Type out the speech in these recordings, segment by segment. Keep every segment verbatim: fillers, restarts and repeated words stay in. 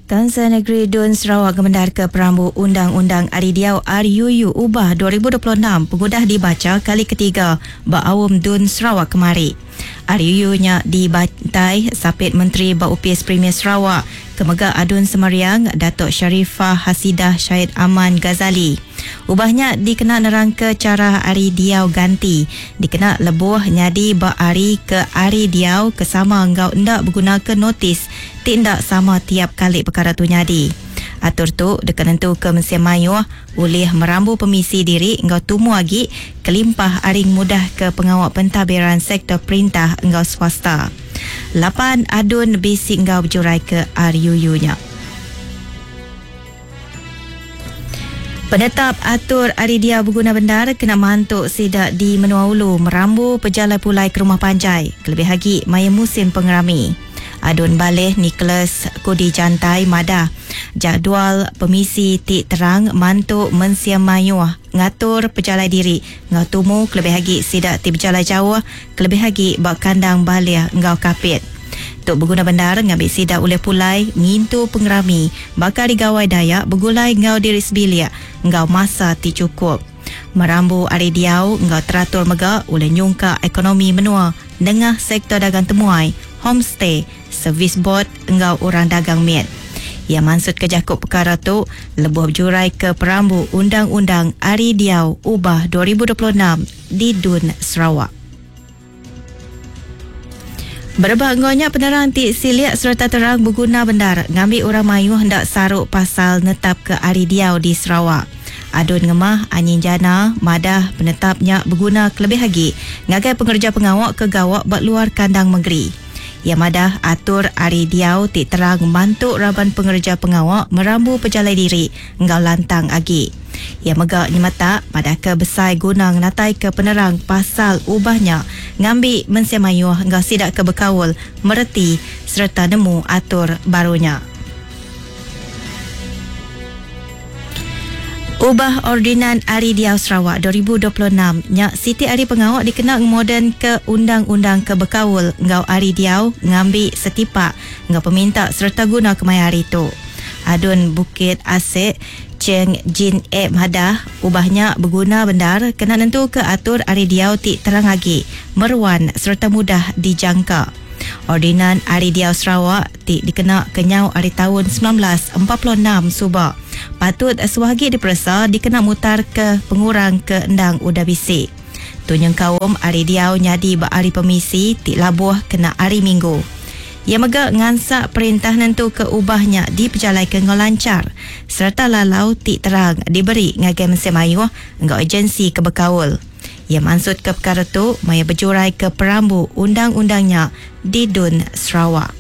Kaunsil Negeri Dun Sarawak ngemendar ke perambu Undang-Undang Ari Diau R U U Ubah dua ribu dua puluh enam pengudah dibaca kali ketiga ba Aum Dun Sarawak kemari. R U U-nya dibantai Sapit Menteri ba Opis Premier Sarawak kemega Adun Semariang Datuk Sharifah Hasidah Syed Aman Ghazali. Ubahnya dikena nerang ke cara ari diau ganti, dikena lebuh nyadi ba ari ke ari diau ke sama enggau enda berguna ke notis ti enda sama tiap kali perkara tu nyadi. Atur tu deka nentu ke mensia mayuh ulih merambu pemisi diri enggau tumu agi kelimpah ari mudah ke pengawa pentadbiran sektor perintah enggau swasta. Lapan adun bisi enggau berjurai ke R U U-nya. Penetap atur ari dia berguna bendar kena mantuk sidak di menua ulu merambu pejalai pulai ke rumah panjai kelebih lagi maya musim pengerami. Adun Baleh Nicholas Kudi Jantai madah jadual pemisi ti terang mantu mensia mayuh ngatur pejalai diri ngau tumu kelebih lagi sidak ti berjalai jauh kelebih lagi ba kandang Baleh ngau Kapit. Tuk berguna bendar ngambil sidak oleh pulai ngintu pengerami bakal digawai Dayak bergulai ngau diri sebilik ngau masa ti cukup. Merambu ari diau ngau teratur mega oleh nyungka ekonomi menua nengah sektor dagang temuai, homestay, servis board ngau orang dagang miat. Ia maksud ke jakub perkara tu lebuh berjurai ke perambu Undang-Undang Ari Diau Ubah dua ribu dua puluh enam di Dun Sarawak. Berebak ngonya penerang ti siliak serta terang berguna bendar ngambil orang mayuh hendak saruk pasal netap ke Ari Diau di Sarawak. Adun Ngemah Anyin Jana madah penetapnya berguna kelebih lagi ngagai pengerja pengawak ke gawak bak luar kandang negeri. Ia madah atur Ari Diau ti terang mantuk raban pengerja pengawak merambu pejalai diri enggau lantang agi. Ia mega nyemetak pada ke besai guna ngenatai ke penerang pasal ubahnya ngambi mensia mayuh enggau sidak ke bekaul mereti serta nemu atur barunya. Ubah Ordinan Ari Diau Sarawak dua ribu dua puluh enam nya siti ari pengawak dikena ngemoden ke undang-undang ke bekaul enggau Ari Diau ngambi setipak enggau peminta serta guna kemaya hari tu. Adun Bukit Asek Cheng Jin E madah ubahnya berguna bendar kena nentu ke atur Ari Diau ti terang agi, meruan serta mudah dijangka. Ordinan Ari Diau Sarawak ti dikena kenyau ari tahun sembilan belas empat puluh enam subak patut suah agi diperesa dikena mutar ke pengurang ke endang udah bisi. Tunyeng kaum Ari Diau nyadi ba ari pemisi ti labuh kena ari Minggu. Ia mega ngansak perintah nentu ke ubahnya dipejalai ke ngau lancar serta lalau ti terang diberi ngagai mensia mayuh enggau agensi ke bekaul. Ia maksud ke perkara tu maya berjurai ke perambu undang-undangnya di Dun Sarawak.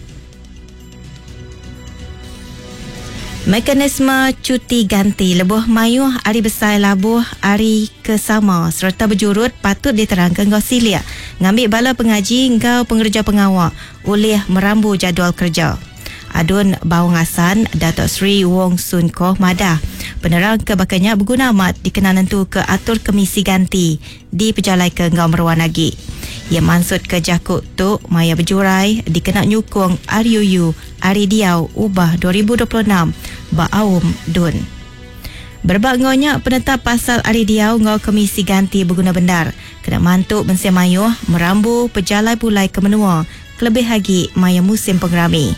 Mekanisme cuti ganti lebuh mayuh ari besai labuh ari kesama serta berjurut patut diterangkan enggau siliak ngambil bala pengaji enggau pengerja pengawak oleh merambu jadual kerja. Adun Bawang Assan Datuk Seri Wong Soon Koh madah penerang ke bakanya berguna amat dikena nentu ke atur kemisi ganti di pejalai ke enggau meruan lagi. Ia maksud ke jakuk tu maya berjurai dikena nyukung R U U Ari Diau Ubah dua ribu dua puluh enam ba Aum Dun. Berebak ngonya penetap pasal Ari Diau ngau komisi ganti berguna bendar kena mantuk mensia mayuh merambu pejalai pulai ke menua kelebih lagi maya musim pengerami.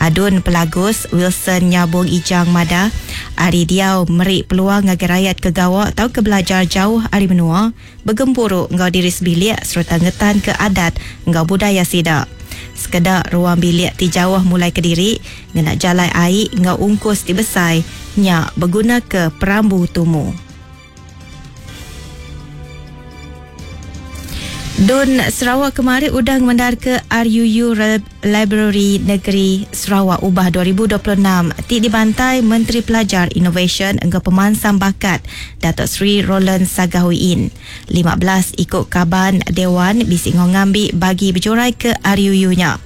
Adun Pelagus Wilson Nyabung Ijang madah Ari Diau meri peluang ngagai rakyat ke gawak tau ke belajar jauh ari menua bergempuru enggau diri sebilik serta ngetan ke adat enggau budaya sida. Sekedak ruang bilik ti jauh mulai ke diri ngena jalai air enggau ungkus ti besai nya berguna ke perambu tumu. Dun Sarawak kemarin udah ngemendar ke R U U Library Negeri Sarawak Ubah dua ribu dua puluh enam ti dibantai Menteri Pelajar Inovasi enggau Pemansang Bakat Datuk Seri Roland Sagah Wee Inn. lima belas ikut kaban Dewan bisi ngambi bagi berjurai ke R U U-nya.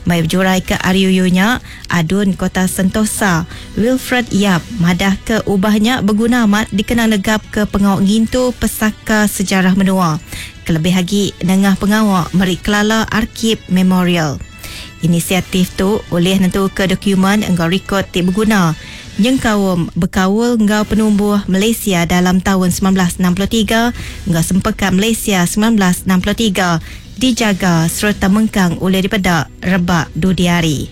Mai berjurai ke R U U-nya, Adun Kota Sentosa Wilfred Yap madah ke ubahnya berguna amat dikena negap ke pengawak ngintu pesaka sejarah menua. Kelebih lagi nengah pengawak meri kelala arkib memorial. Inisiatif tu oleh nentu ke dokumen enggau rekod ti berguna nyengkaum bekaul enggau penumbuh Malaysia dalam tahun seribu sembilan ratus enam puluh tiga enggau Sempekat Malaysia seribu sembilan ratus enam puluh tiga dijaga serta mengkang oleh dipedak rebak dudiari.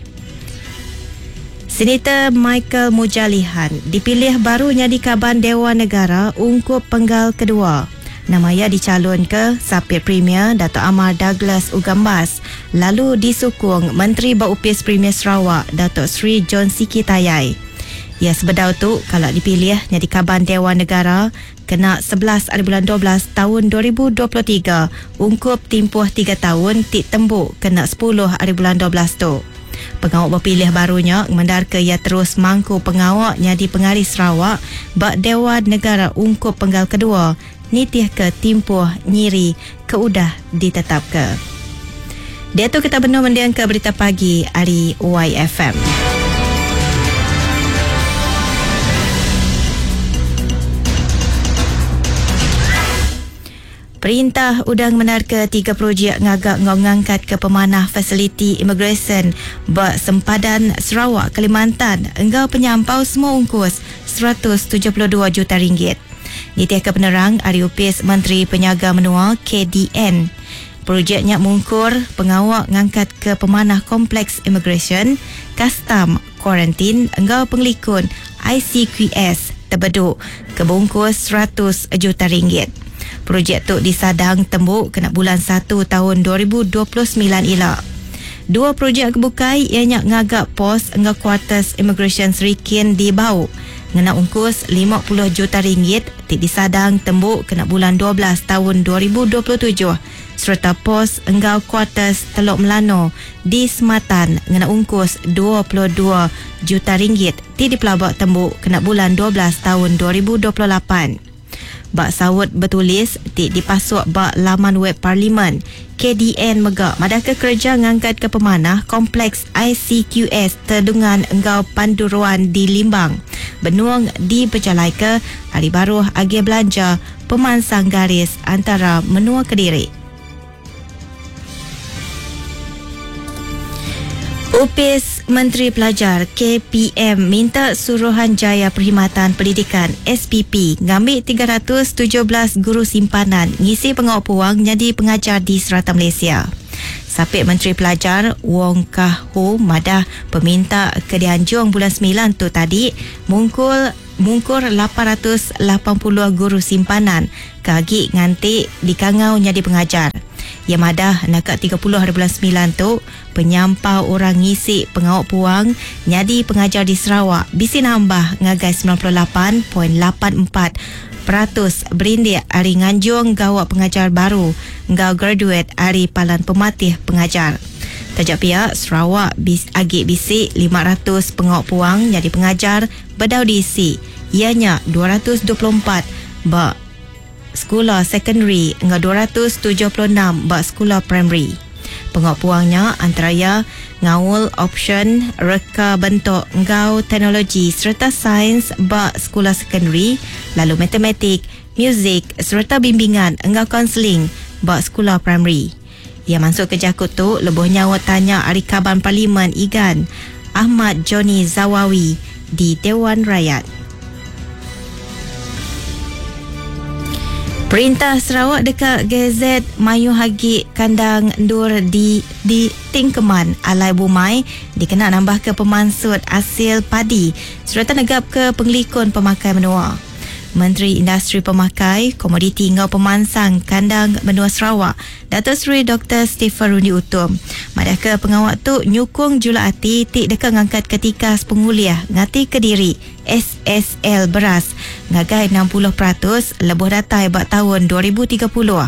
Senator Michael Mujalihan dipilih baru jadi Kaban Dewan Negara ungkup penggal kedua. Nama ia dicalon ke Sapit Premier Dato' Amar Douglas Ugambas lalu disukung Menteri Baupis Premier Sarawak Dato' Sri John Sikie Tayai. Ia sebedau tu kalau dipilih jadi Kaban Dewan Negara kena sebelas hari bulan dua belas tahun dua ribu dua puluh tiga ungkup tempoh tiga tahun tik tembuk kena sepuluh hari bulan dua belas tu. Pengawak berpilih barunya mendar ke ia terus mangku pengawak jadi pengari Sarawak bak Dewan Negara ungkup penggal kedua nitih ke timpuh nyiri ke udah ditetap ke. Dia tu kita benar mendiang ke berita pagi hari Y F M. Perintah udang menar ke tiga projek ngagak ngau ngangkat ke pemanah fasiliti immigration bak sempadan Sarawak Kalimantan enggau penyampau semua ungkus seratus tujuh puluh dua juta ringgit. Nitih ke penerang Ari Upis Menteri Penyaga Menua K D N. Projeknya mungkur pengawak ngangkat ke pemanah kompleks immigration, custom, kuarantin enggau pengelikun I C Q S terbeduk ke bungkus seratus juta ringgit. Projek tu disadang tembuk kena bulan satu tahun dua ribu dua puluh sembilan ila. Dua projek kebukai ianya ngagak pos enggau quarters immigration Serikin di Bau. Ngena ungkus lima puluh juta ringgit ti disadang tembuk kena bulan dua belas tahun dua ribu dua puluh tujuh serta pos enggau quarters Teluk Melano di Sematan ngena ungkus dua puluh dua juta ringgit ti dipelabak tembuk kena bulan dua belas tahun dua ribu dua puluh lapan. Bak sawut bertulis ti dipasuk bak laman web parlimen K D N megak madah ke kerja ngangkat ke pemanah kompleks I C Q S Tedungan enggau Panduruan di Limbang. Benuang diperjalai ke hari baruh agi belanja pemansang garis antara menua Kediri. Upis Menteri Pelajar K P M minta Suruhanjaya Perkhidmatan Pendidikan S P P ngambil tiga ratus tujuh belas guru simpanan ngisi pengawal puang jadi pengajar di serata Malaysia. Sapit Menteri Pelajar Wong Kah Ho madah peminta ke dianjung bulan sembilan tu tadi mungkul mungkur lapan ratus lapan puluh guru simpanan kagi nganti dikangau jadi pengajar. Ya madah nakak tiga puluh hari bulan sembilan tu penyampau orang ngisi pengawak puang jadi pengajar di Sarawak bisi nambah ngagai sembilan puluh lapan perpuluhan lapan empat peratus berindik hari nganjung gawak pengajar baru ngau graduate hari palan pematih pengajar. Tajak pihak Sarawak bis, agi bisi lima ratus pengawak puang jadi pengajar bedau diisi ianya dua ratus dua puluh empat ba sekolah secondary enggau dua ratus tujuh puluh enam ba sekolah primary. Pengawak puangnya antara ngaul option reka bentuk enggau teknologi serta sains ba sekolah secondary lalu matematik, muzik serta bimbingan enggau kaunseling ba sekolah primary. Ia masuk ke jakut tu lebuh nyawa tanya ari Kaban Parlimen Igan Ahmad Johnny Zawawi di Dewan Rakyat. Perintah Sarawak dekat Gazet Mayu Hagi kandang ndur di di Tingkeman Alai Bumai dikena nambah ke pemansut hasil padi serta negap ke pengelikun pemakai menua. Menteri Industri Pemakai, Komoditi Ngau Pemansang Kandang Menua Sarawak, Dato' Seri Doktor Stephen Rundi Utom. Madah ke pengawak tu nyukung jula ati tik dekat ngangkat ketika penguliah ngati kediri S S L beras ngagai enam puluh peratus lebuh datai bak tahun dua ribu tiga puluh.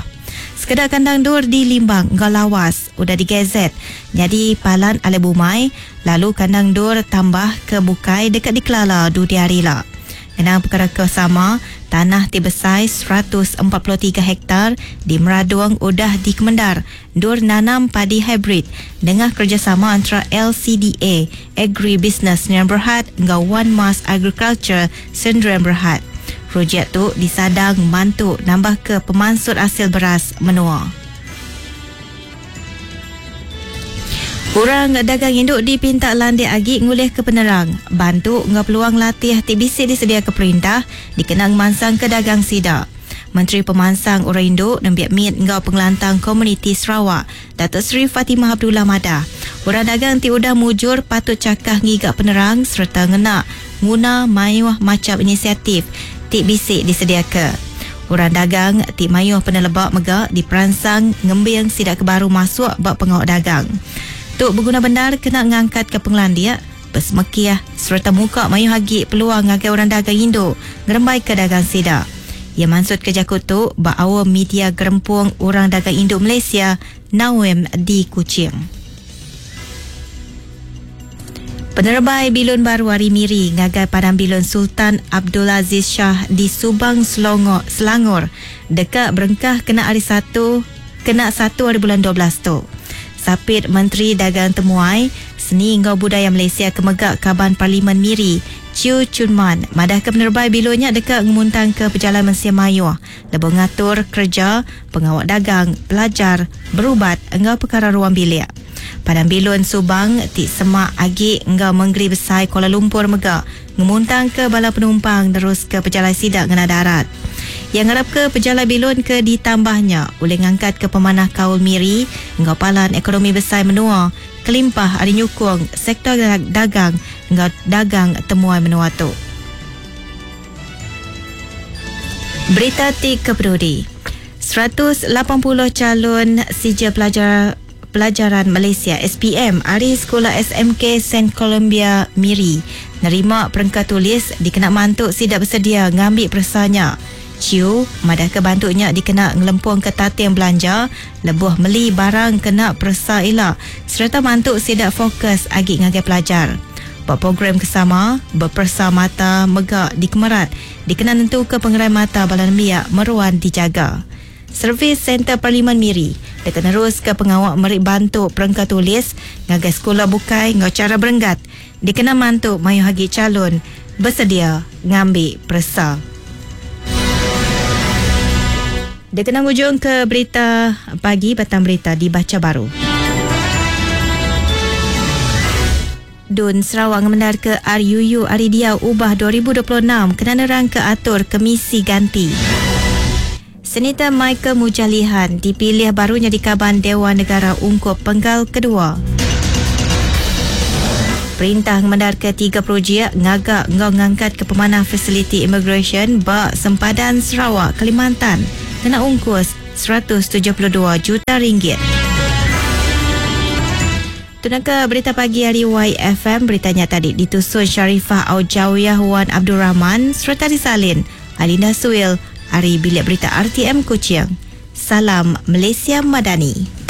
Sekedar kandang dur di Limbang Ngau Lawas udah digazet jadi palan alai bumai lalu kandang dur tambah ke bukai dekat dikelala dudiari lah. Kenang perkara kesama, tanah ti besai seratus empat puluh tiga hektar di Meraduang udah dikemendar dur nanam padi hybrid dengan kerjasama antara L C D A, Agribusiness Sdn Berhad dengan One Mas Agriculture Sdn Berhad. Projek tu disadang mantu nambah ke pemansut hasil beras menua. Orang dagang induk dipinta landik agi ngulih ke penerang, bantu ngau peluang latih ti bisi disedia ke perintah dikenang mansang ke dagang sida. Menteri Pemansang Orang Induk Nembiak Mit Ngau Pengelantang Komuniti Sarawak, Datuk Seri Fatimah Abdullah madah, orang dagang ti udah mujur patut cakah ngiga penerang serta ngena nguna mayuh macam inisiatif ti bisi disedia ke. Orang dagang ti mayuh penelebak mega diperansang ngembing sidak ke baru masuk bak pengawak dagang. Tu berguna benar kena ngangkat ke pengelandia, bersemekiah serta muka mayuh agi peluang ngagai orang dagang induk ngerembai ke dagang sidak. Ia maksud ke jakut tu ba awal media gerempung orang dagang induk Malaysia Nawem di Kuching. Penerbai bilun baru hari Miri ngagai Padang Bilun Sultan Abdul Aziz Shah di Subang Selangor, Selangor dekat berengkah kena hari satu kena satu hari bulan dua belas tu. Sapit Menteri Dagang Temuai Seni Ngau Budaya Malaysia kemegak Kaban Parlimen Miri Chiu Chun Man madah ke penerbai bilunnya dekat ngemuntang ke pejalan Mensia Mayuh lebuh ngatur kerja pengawak dagang pelajar berubat engau perkara ruang bilik. Padang Bilun Subang ti semak agi engau Menggeri Besai Kuala Lumpur mega ngemuntang ke bala penumpang terus ke pejalai sidak ngena darat. Yang ngarap ke pejalai bilun ke ditambahnya oleh ngangkat ke pemanah Kaul Miri engau palan ekonomi besai menua kelimpah ari nyukung sektor dagang engau dagang temuai menua tu. Berita ti kepeduli. seratus lapan puluh calon sijil pelajar Pelajaran Malaysia S P M ari Sekolah S M K Saint Columbia Miri nerima perengka tulis dikena mantuk sidak bersedia ngambil persanya. Ciu madah ke bantuknya dikena ngelempung ke tating belanja lebuh meli barang kena persa ila serta mantuk sidak fokus agi ngagai pelajar. Buat program kesama berpersa mata megak di Kemerat dikena nentu ke pengerai mata bala nembiak meruan dijaga. Servis Center Parlimen Miri dekat nerus ke pengawak merik bantu perengka tulis ngagai sekolah bukai ngau cara berenggat dikena mantu mayuh agi calon bersedia ngambil persa. Dikena ngujung ke berita pagi, batang berita dibaca baru. Dun Sarawak ngemendar ke R U U Ari Diau Ubah dua ribu dua puluh enam kena nerang ke atur kemisi ganti. Senator Michael Mujalihan dipilih barunya di Kaban Dewan Negara Ungkup Penggal Kedua. Perintah ngemendar ke tiga projek ngagak ngau ngangkat ke pemanah fasiliti immigration bak sempadan Sarawak Kalimantan kena ungkus seratus tujuh puluh dua juta ringgit. Tunaka berita pagi hari Y F M, beritanya tadi ditusun Sharifah Aujawiyah Wan Abdul Rahman serta disalin Alina Suil hari Bilik Berita R T M Kuching. Salam Malaysia Madani.